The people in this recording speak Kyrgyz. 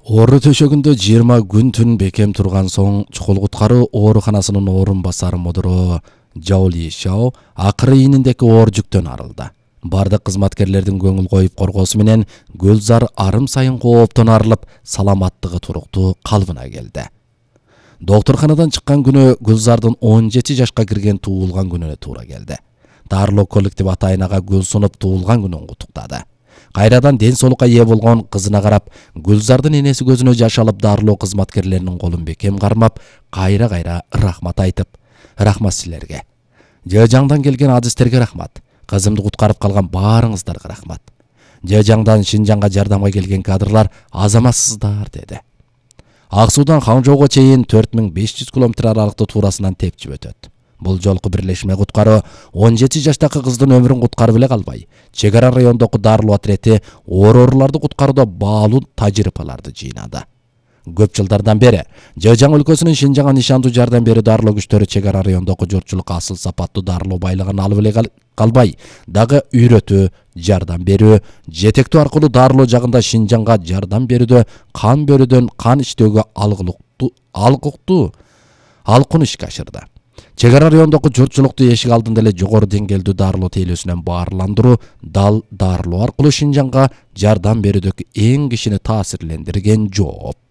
Оору төшөгүндө 20 күн түн бекем турган соң чукул куткаруу ооруканасынын орун басары мудуру Жао Лишао акыры ийниндеки оор жүктөн арылды. Бардык кызматкерлердин көңүл коюп коргоосу менен Гүлзар арым сайын кооптон арылып, саламаттыгы туруктуу калыбына келди. Доктурканадан чыккан күнү Гүлзардын 17 жашка кирген туулган күнүнө туура келди. Дарлоо коллектив атайынага гүл сунуп туулган күнүн куттуктады. Кайрадан ден соолукка ээ болгон кызына карап, Гүлзардын энеси көзүнө жаш алып дарлоо кызматкерлеринин колун бекем кармап, кайра рахмат айтып, "Рахмат силерге. Жыжаңдан келген адистерге рахмат. Кызымды куткарып калган баарыңыздарга рахмат. Жыжаңдан Шинжаңга жардамга келген кадрлар азаматсыздар" деди. Ак Суудан Ханчжоуга чейин 4500 километр аралыкты туурасынан тепчип өтөт. Бул жолку бирлешме куткаруу 17 жаштагы кыздын өмүрүн куткарып эле калбай, чек ара райондогу дарлоо отрети ооруларды куткарууда баалуу тажрыйбаларды жыйнады. Көп жылдардан бери Жыжаң өлкөсүнүн Шинжаңга нишандуу жардам берүү дарлоо күчтөрү чек ара райондогу журтчулукка асыл сапаттуу дарлоо байлыгын алып эле калбай, дагы үйрөтүү, жардам берүү, жетектөө аркылуу дарлоо жагында Шинжаңга жардам берүүдө кан берүүдөн кан иштөөгө алкын ишке ашырды. Чек ара райондогу журтчулукту эшик алдында эле жогору деңгээлдүү дарлоо тейлөөсүнөн баарландыруу, дарлоо аркылуу Шинжаңга жардам берүүдөгү эң кишини таасирлендирген жооп.